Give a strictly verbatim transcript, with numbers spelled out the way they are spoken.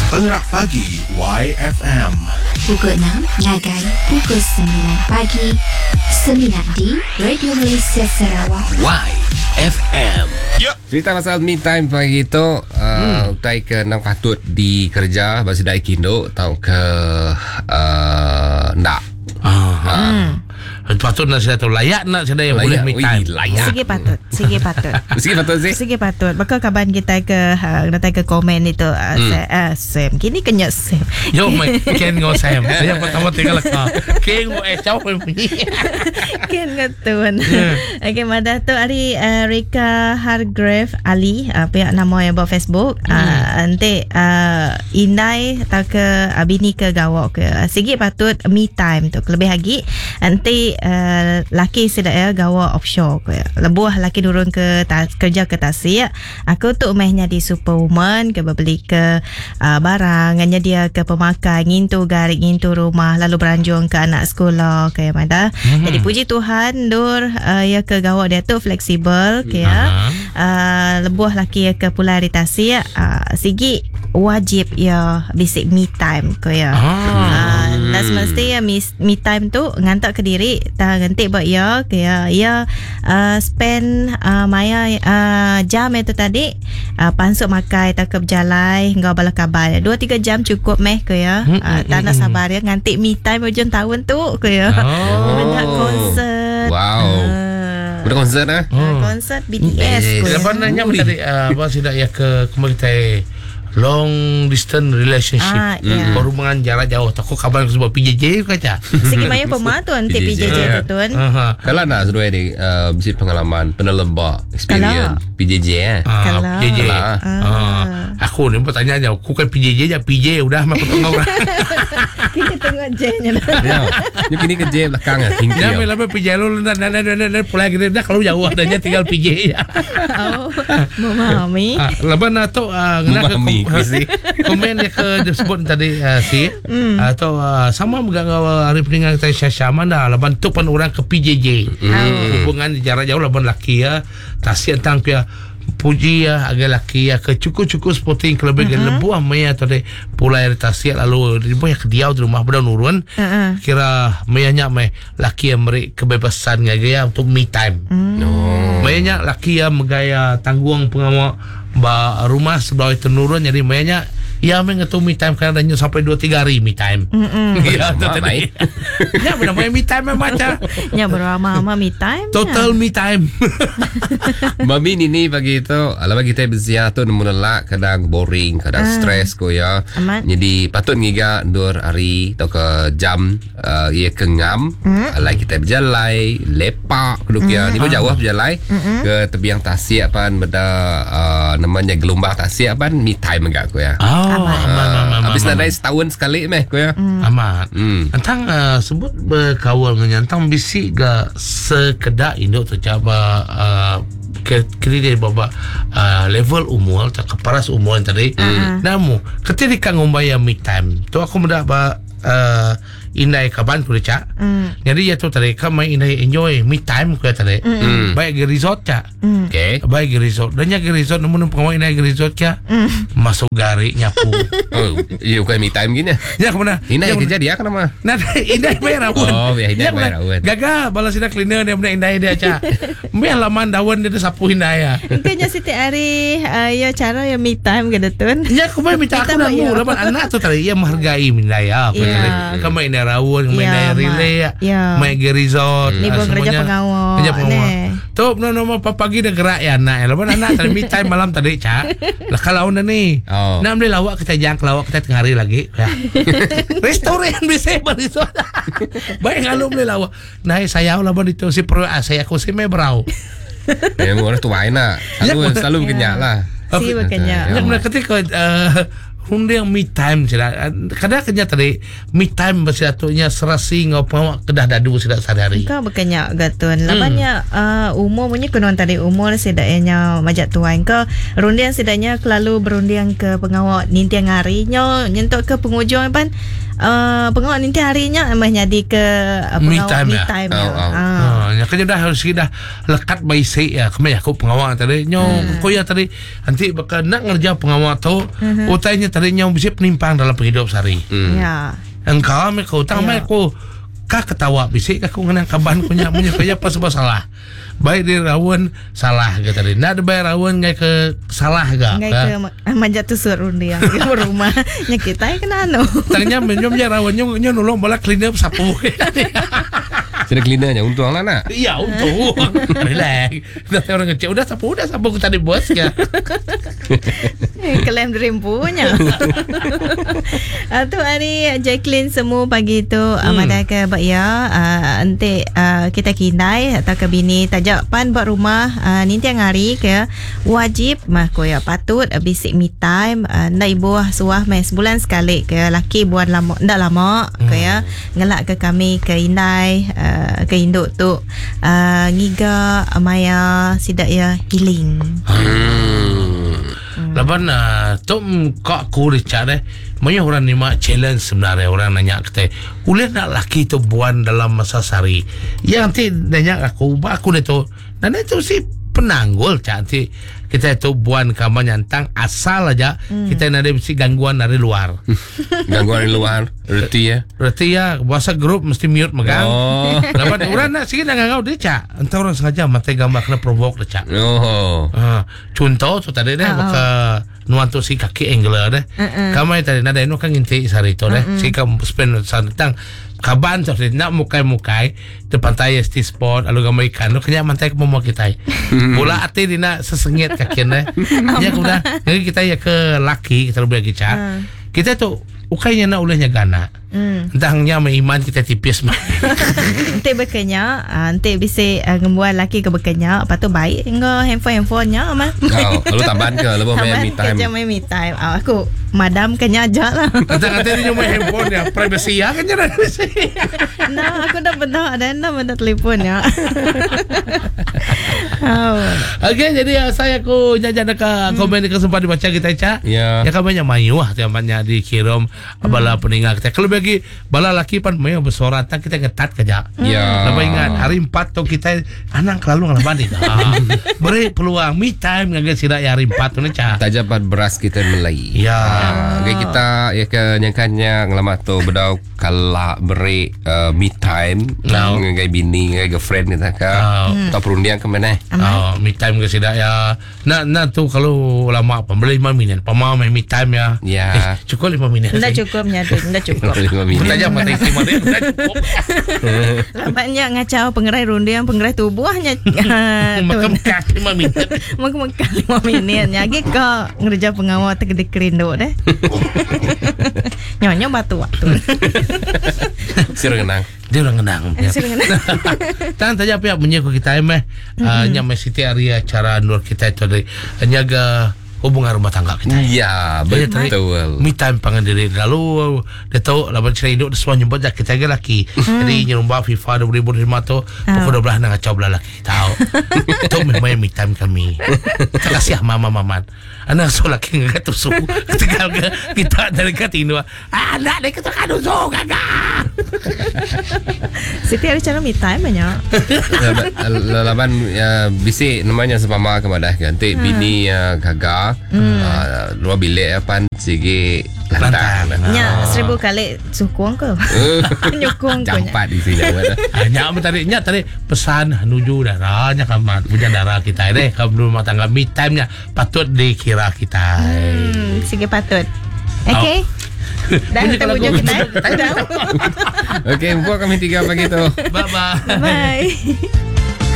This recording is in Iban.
Pengerak Pagi Y F M. Pukul enam ngagai pukul sembilan pagi. Semina di Radio Malaysia Sarawak. Y F M. Ya. Cerita pasal me time pagi tu, uh, hmm. utai ke nang patut dikerja bagi dai kindo tau ke uh, ndak. Ah. Hmm. Patut nak saya tahu layak nak saya yang boleh me time. Layak. Sigi patut, sigi patut. Sigi patut sih. Sigi patut. Bakal kaban kita ke datang ke komen itu hmm. uh, Sam. Kini kenyat Sam. Yo mai Ken ngau Sam. Saya pertama tinggal ka. Ken ngau eh jauh Ken ngetun. Okey madah tu hari uh, Rika Hargrave Ali uh, pihak nama yang buat Facebook hmm. uh, nanti uh, indai atau ke uh, bini ke gawak ke sigi patut me time tu lebih lagi nanti Uh, laki sedak ya gawa offshore ke lebuh laki turun ke ta- kerja ke tasik aku tu mehnya di superwoman ke beli ke uh, barang nganya dia ke pemakai ngintu garik ngintu rumah lalu beranjung ke anak sekolah ke mana mm-hmm. Jadi puji Tuhan dur uh, ya ke gawa dia tu fleksibel ke ya uh, lebuh laki ya ke pulau di tasik uh, sigi wajib ya basic me time ke ya ah. Uh, dan semesti ya me, me time tu ngantak ke diri tak ganti buat ya ke ya ya uh, spend uh, maya uh, jam itu tadi uh, pansuk makai tak ke berjalai ngau bala kabar dua tiga jam cukup meh ke ya uh, tak nak sabar ya nganti me time hujung tahun tu ke ya oh. Nak konsert. Wow. Uh, Udah konsert ah? Uh, konsert B T S. Lepas nanya tadi apa sudah ya ke kemarin long distance relationship. Ah, yeah. Perhubungan jarak jauh. Takut kabar sebab P J J kaca. Segi maya pema tu nanti P J J tu tuan. Uh-huh. Kalau nak seduai ni uh, mesti pengalaman penelebak experience P J J eh. Ah, P J J. Ah. Ah. Aku ni bertanya aja, aku kan P J J je P J udah mah aku tengok. Kita tengok J-nya. Ya. Ni kini ke J belakang ah. Tinggi. Ya, lama P J lu dan dan dan pulang kita dah kalau jauh adanya tinggal P J ya. Oh, memahami. Lepas nak tu memahami. Komen yang ke disebut tadi uh, si mm. atau uh, sama juga hari peninggal kita Syasha mana laban tu pun orang ke P J J mm. Hubungan jarak jauh laban laki ya tasik tentang pia puji ya agar laki ya ke cukup-cukup sporting kelebih mm-hmm. lebuh maya tadi pulai dari tasik lalu ribu yang kediau di rumah benda nurun mm-hmm. Kira mayanya may laki yang beri kebebasan gaya untuk me time mm. No. Mayanya laki yang megaya tanggung pengawal ba rumah sebelah itu nurun jadi mayanya ya mengetu me time kerana dah sampai dua tiga hari me time. Mm-mm. Ya tu tadi. Ya benar me time macam. Ya beramah-amah me time. Total me time. Mami nini pagi itu ala bagi kita berziar tu nemu nelak kadang boring, kadang uh, stres ko ya. Amat. Jadi patut ngiga ndur hari atau ke jam uh, ia ke ngam mm. Alai kita berjalai, lepak keduk ya. Ni pun jauh berjalai Mm-mm. ke tebiang tasik apan benda uh, namanya gelombang tasik apan me time agak ko ya. Oh. Amat. Amat, amat, habis amat. nadai setahun sekali meh ko ya. Mm. Amat. Mm. Entang uh, sebut berkawal dengan entang bisik ga sekedak induk tercabar uh, kiri dari baba uh, level umur atau keparas umur yang tadi. Mm. Namu ketika ngumbai me time tu aku muda ba uh, indai kaban ku cak. Mm. Jadi ya tu tadi kan main indai enjoy me time ku tadi. Mm. Baik ke resort cak. Mm. Okey. Baik ke resort. Dan nya ke resort namun pengawal indai ke resort cak. Mm. Masuk garik nyapu. Oh, ya bukan me time gini. Ya ke mana? Indai kerja dia kan nama. Nah, indai bayar rawon. Oh, ya indai bayar rawon. Gagal balas sida cleaner dia benda indai dia cak. Meh laman daun dia sapu indai ya. Kayaknya Siti Ari uh, ya cara ya me time ke detun. Ya aku main minta aku nak mu laman anak tu tadi ia menghargai indai ya. Ya. Kamu indai rawon, main Ya, yeah, relay, ya. main ke resort, Ni ah, pun kerja semuanya. pengawal. Kerja pengawal. Neh. Tu no no pagi dah gerak ya anak. Lepas anak tadi me time malam tadi cak. Lah kalau dah ni. Oh. Nak beli lawak kita jangan kelawak kita tengah hari lagi. Ya. Restoran bisa resort. Baik kalau beli lawak. Nah saya lah bon itu si pro ah, saya aku si me brau. Ya orang tu main lah. Selalu Ya, selalu berkenyak lah. Si berkenyak. Yang mana ketika uh, hunding me time sudah. Kadang kena tadi me time bersatunya serasi ngau pengawak kedah dadu sudah sehari-hari. Kau berkenyak gatun. Labannya uh, umur punya kunon tadi umur sedaknya majak tuan ke rundian sedaknya kelalu berundian ke pengawak nintiang harinya nyentuk ke penghujung pan uh, pengawal nanti harinya meh jadi ke uh, Me pengawal time me ya? time. Oh, ya. oh. Ah. Ah, ya kan dah harus dah lekat baisi ya. Kami aku pengawal tadi. Nyo hmm. Koya tadi nanti bakal nak ngerja pengawal tu hmm. Utainya tadi nyo bisa penimpang dalam penghidup sehari. Hmm. Ya. Engkau me kau tang me aku ka ketawa bisik aku ngena kaban punya punya kaya pas sebab salah. Baik di rawon salah ke tadi. Nak bayar rawon ngai ke salah ga. Ngai ke manjat tusur rundi yang di rumah. Nya kita kena anu. Tangnya menyom ya rawon nyo nyo nolong bola clean up sapu. Sudah cleanernya untung lah nak. Iya untung. Relax. Dah orang ngecek udah sapu udah sapu aku tadi bos ya. Kelem dream punya. Tu hari Jacqueline semua pagi tu hmm. Madah ke bak ya ente uh, kita kindai atau ke bini tajak pan buat rumah uh, ninti yang hari ke wajib mah ko ya patut uh, basic me time uh, ndak ibu suah meh sebulan sekali ke laki buat lama ndak lama hmm. Ke ya ngelak ke kami ke indai uh, ke induk tu uh, ngiga maya sidak ya healing. Hmm. Hmm. Laban uh, tu kak aku Richard eh banyak orang ni mak challenge sebenarnya orang nanya kita boleh nak laki tu buan dalam masa sehari ya nanti nanya aku aku ni tu dan itu si penanggul cak nanti kita itu buan kamar nyantang asal aja hmm. Kita ada mesti gangguan dari luar. Gangguan dari luar reti ya reti ya bahasa grup mesti mute megang. Oh. Laban orang nak sikit nak ngangau dia cak entah orang sengaja mati gambar kena provoke dia cak. Oh. Uh, contoh tu tadi deh oh. Maka nuan tu si kaki angler deh. Uh-uh. Kamai tadi nada inu kan nginti sehari tu deh. Uh-uh. Si kam spend tentang kaban tu nak mukai-mukai di pantai S T Sport lalu gambar ikan lu kena mantai ke momo kita. Bola ati dina sesengit kaki deh. Ya udah jadi kita ya ke laki kita lebih lagi cak. Uh. Kita tu ukainya nak ulehnya gana. Hmm. Entahnya iman kita tipis mah. Ente berkenya, ente bisa uh, ngembuat laki ke berkenya, lepas tu baik nggo handphone-handphonenya mah. Oh, lalu tambahan ke lepas main me time. Kerja main me time. Oh, aku madam kenya aja lah. Kata-kata dia main handphone ya, privacy ya kan nya. Nah, aku dah benda ada dah benda telefon ya. Oh. Okey, jadi saya aku jajan ke hmm. Komen ke sempat dibaca kita Cak. Ya. Ya kan banyak mayu ah tiap banyak dikirim hmm. Bala peninggal kita. Kalau bagi bala laki pan mayu bersorak tak kita ngetat kerja. Ya. Lepas ingat hari empat tu kita anang kelalu ngelaban ni. Beri peluang me time ngagai sidak hari empat tu ni Cak. Tajabat beras kita melai. Ya. Okay, kita ya ke nyangkanya ngelamat tu bedau kala beri uh, me time no. Ngagai bini ngagai girlfriend kita ka. Oh. Atau perundian ke mana? Oh, me time ke sidak ya. Nak nak tu kalau lama pembeli lima minit. Pemau main me time ya. Ya. Eh, cukup lima minit. Ndak cukupnya tu, ndak cukup. Lima minit. Tajam mata isi mana ndak cukup. Lambatnya ngacau pengerai rundiang pengerai tubuhnya. Mekemkak lima minit. Mekemkak lima minit. Nyagi ke ngerja pengawal tegede kerinduk deh. Nyonya batu waktu. Sira kenang. Dia orang kenang. Sira kenang. Tang saja pihak menyeku kita meh nya meh siti area cara nur kita itu dari nyaga hubungan rumah tangga kita. Ya, betul. Me time pangan diri. Lalu dia tahu lawan cerai hidup semua nyebut dah kita laki. Mm. Jadi nyerumba FIFA dua ribu lima tu pukul dua belas nak kacau belah laki. Tahu. Tu memang me time kami. Terima kasih mama maman. Anak so laki ngegat susu. Ketika kita dari kat Indo. Anak dia kata kanu so gagah. Siti ada cara me time banyak. Lawan bisi namanya sempama kepada ganti bini gagah. Hmm. Uh, luar bilik apa sigi lantang. Nya seribu kali sukong ke. Nyukong ke. Campat di sini. Nya tadi nya tadi pesan nuju darah nya kamat punya darah kita deh kalau rumah tangga me time nya patut dikira kita. Hmm, sigi patut. Okey. Oh. Dah kita ujung kita. Okey, buat kami tiga pagi tu. Bye bye. Bye.